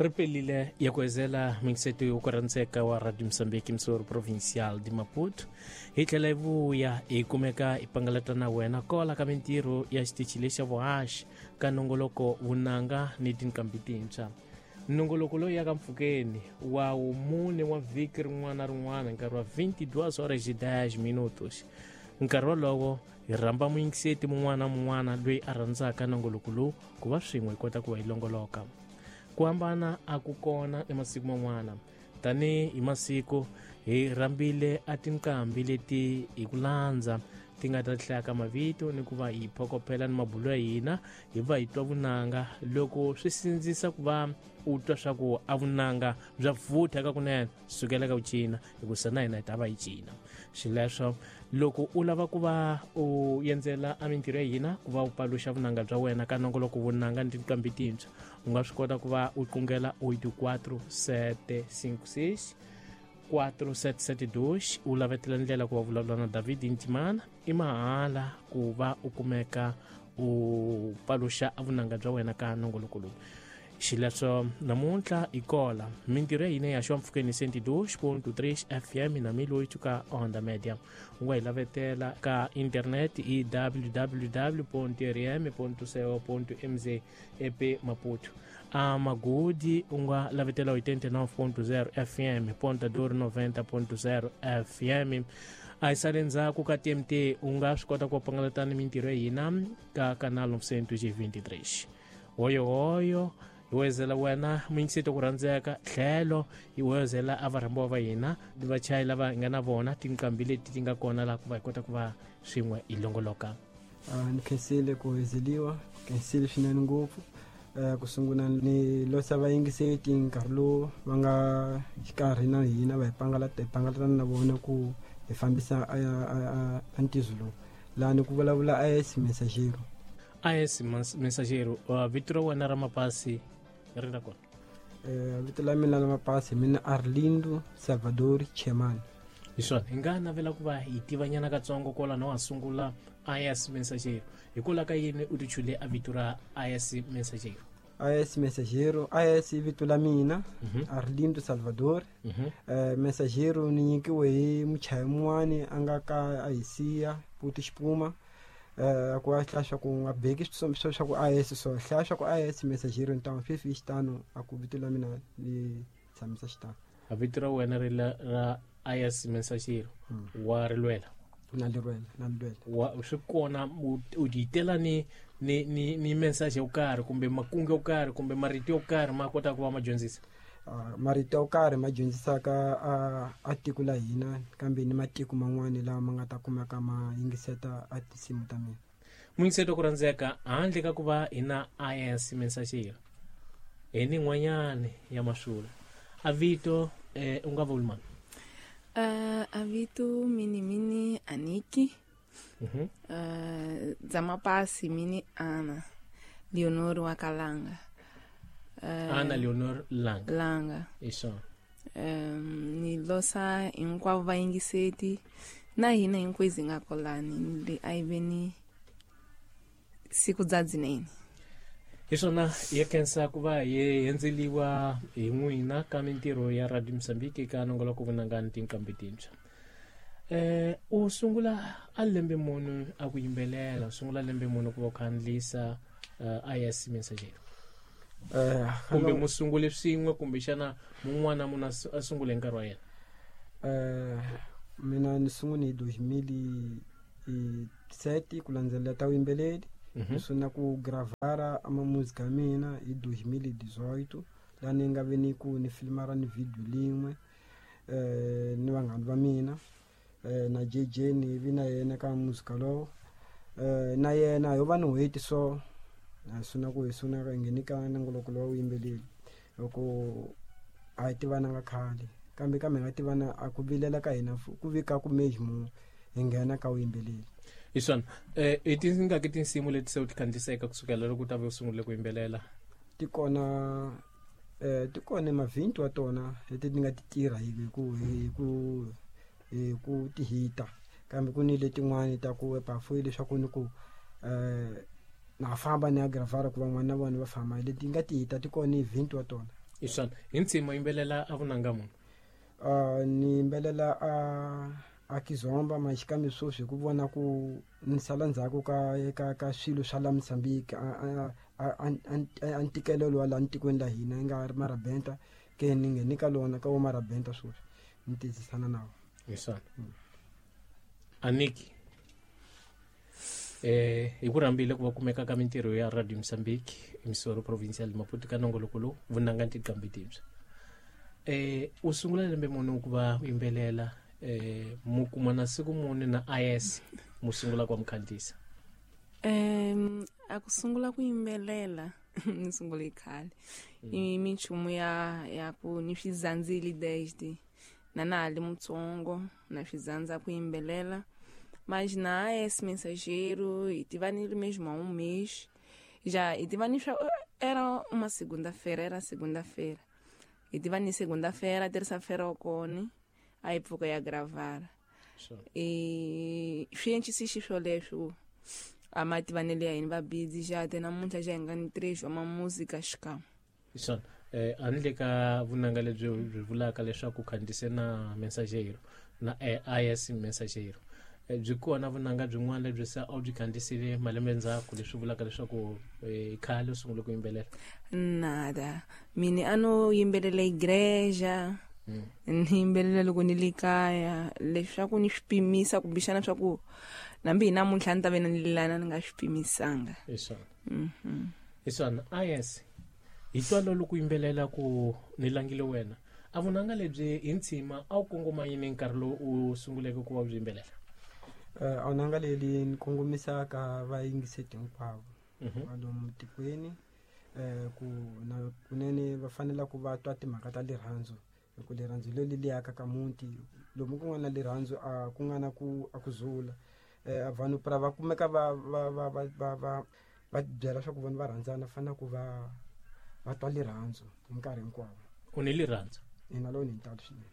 Ri pelile ya ku ezela mingiseto yo ku rhandzeka wa Radio Mozambique Msoro Provincial de Maputo. Hi tlhela hi vuya hi kumeka hi pangalata na wena kola ka mintirho ya xitichi lexa vuhaxi ka nongoloko vunanga ni tinqambi tintshwa. Nongoloko lowu yaka mpfhukeni wa wumune wa vhiki rin'wana na rin'wana nkarhi wa 22 horas e 10 minutos. Nkarhi wolowo hi rhamba muyingiseti mun'wana na mun'wana loyi a rhandzaka nongoloko lowu ku va swin'we hi kota ku va hi longoloka. Ku hambana a ku kona emasiku man'wana. Tanihi hi masiku hi rhambile a tinqambi leti hi ku landza ti nga ta hlaya ka mavito ni ku va hi phokophela ni mabulo ya hina hi va hi twa vunanga loko swi sindzisa ku va u twa swa ku a vunanga bya vutha ka kunene sukela ka ku cina hikusa na hina hi ta va hi cina. Xileswo loko u lava ku va u endzela a mintirho ya hina ku va u paluxa vunanga bya wena ka nongoloko vunanga ni tinqambi tintshwa, u nga swi kota ku va u qungela 84 756 4772 u lavetela ndlela ku va vulavula na David Ntimana. I mahala ku va u kumeka u paluxa vunanga bya wena ka nongoloko lowu. Xileswo namuntlha hi kola mintirho ya hina ya xo mpfhukeni 102.3 FM na 1008 ka Onda Media. U nga hi lavetela ka internet i www.rm.co.mz ep Maputo. A Magudi u nga lavetela 89.0 FM, Ponta Dor 90.0 FM. A hi sale ndzhaku ka TMT u nga swi kota ku pangalata ni mintirho ya hina ka Canal 923. Hoyohoyo hi wezela wena muyingiseti ku rhandzeka tlhelo hi wezela a varhambiwa va hina vachayi lava hi nga na vona tinqambi leti ti nga kona laha ku va hi kota ku va swin'we hi longoloka. Ni khensile ku wezeliwa, khensile swinene ngopfu. Ku sungula ni losa vayingiseti nkarhi lowu va nga xikarhi na hina va hi pangalata, hi pangalatana na vona ku hi fambisa a ntizo lowu. Laha ni ku vulavula AS Messagero. AS Messagero, vito ra wena ra mapasi ri ra kona? Vito la mina la mapasi mina Arlindo Salvador Chemani. Hi swona, hi nga navela ku va hi tivanyana katsongo kwalano wa sungula AS Messagero. Hikwalaho ka yini u tichule a vito ra AS Messagero? AS Messagero, AS i vito la mina, Arlindo Salvador. Messagero ni nyikiwe hi muchayi mun'wani a nga ka a hi siya, Puti Xipuma. Ku a hlaya swa ku nga beki swa swa ku AS so hlaya swa ku AS Messagero ntamu sweswi i xitano a ku vito la mina ni tshamisa xitano. A vito ra wena ri la ra AS Messagero wa ri lwela? Na li lwela, na li lwela. Wa swi kona u titela ni ni ni ni message yo karhi kumbe makungu yo karhi kumbe marito yo karhi ma kota ku va ma dyondzisa? Marito yo karhi ma dyondzisaka a tiko la hina kambe ni matiko man'wani lawa ma nga ta kumeka ma yingiseta a tinsimu ta mina. Muyingiseti ku rhandzeka, handle ka ku va hi na AS Messagero hi ni n'wanyani ya masula. A vito u nga vuli mani? A vito mini mini Aniki. Dza mapasi mini Ana Leonor wa Kalanga. Ana Leonor Langa. Langa. Hi swona. Ni losa hinkwavo vayingiseti na hina hinkwezi hi nga kolani ni le a yi ve ni siku bya dzinene. Hi swona, hi khensa ku va hi endzeliwa hi n'wina ka mintirho ya Radio Mozambique ka nongoloko vunanga ni tinqambi tintshwa. U sungula a lembe muni a ku yimbelela, u sungula lembe muni ku va u khandlisa AS Messagero? Kumbe mu sungule swin'we kumbexana mun'wana munhu a sungule hi nkarhi wa yena? Mina ni sungule hi 2007 ku landzelela ta vuyimbeleri. Ni sungula ku gravara a ma-music ya mina hi 2018 laha ni nga ve ni ku ni filmara ni video lin'we ni vanghana va mina na JJ ni vi na yena ka music lowo. Na yena yo va ni n'hweti so a sungula ku hi sungula hi nghene ka nongoloko lowa vuyimbeleri loko a hi tivananga khale kambe kambe hi nga tivana a ku vilela ka hina ku vika ku mejmo hi nghena ka vuyimbeleri. Hi swona. I tingaki tinsimu leti se u ti khandziyiseke kusukela loko u ta ve u sungule ku yimbelela? Ti kona ti kona mavhinti wa tona leti ti nga ti tirha hi ku hi ku hi ku ti hita kambe ku ni letin'wani ta ku ebafu leswaku ni ku na famba ni ya gravara ku van'wana na vona va famba leti nga ti hita ti kona i 20 wa tona. Iswana hi ntsima yimbelela a vunanga munhu. Ni yimbelela a kizomba maxikambe sweswi hi ku vona ku ni sala ndzhaku ka swilo swa la Mozambique a ntikelelo wa la ntikweni la hina yi nga ri marabenta ke ni ngheni ka lona ka wo marabenta sweswi ni tizisana na wo. Iswana Aniki hi ku rhambile ku va kumeka ka mintirho ya Radio Mozambique emisoro provincial Maputo ka nongoloko lowu vunanga ntiqambi tibya. U sungula lembe muni ku va u yimbelela mu kuma na siku muni na IS mu sungula ku mukhandisa? A ku sungula ku yimbelela ni sungule khale. I minchumu ya ku ni swi zandzile desde na na ha li mutsongo na swi zandza ku yimbelela. Mas na esse mensageiro e tivanile mesmo há um mês já e tivani era uma segunda-feira, era segunda-feira e tivani segunda-feira, terça-feira okone aí pfuka ya gravar. E swi xiswoleswo a ma tivanele ya hina va busy já te namuntlha já hi nga ni 3 wa música xikan'we. Iswana a ni le ka vunanga lebyi byi vulaka leswaku khandise na mensageiro na IS mensageiro byi kona vunanga byin'wana lebyi se a byi khandisile malembe ndzhaku leswi vulaka leswaku khale u sungule ku yimbelela? Nada, mina a no yimbelela igreja ni yimbelela loko ni le kaya leswaku ni swi pimisa kumbexana swa ku nambi hi namuntlha ni ta ve ni lilana ni nga swi pimisanga. Iswana iswana IS hi twalo loko yimbelela ku ni langile wena a vunanga lebyi hi ntshima a wu kongoma yini nkarhi lowu u sunguleke ku va byi yimbelela? A vunanga leli ni kongomisa ka vayingiseti hinkwavo va lomu tikweni ku na kunene va fanele ku va twa timhaka ta lirhandzu hi ku lirhandzu leri li yaka ka muti lomu ku nga na lirhandzu a ku nga na ku a ku zula vanhu pra va kumeka va va va va va va va byela swa ku vanhu va rhandzana fanele ku va twa lirhandzu hi nkarhi hinkwawo. U ni lirhandzu? Ina, lowu ni ntalo swinene.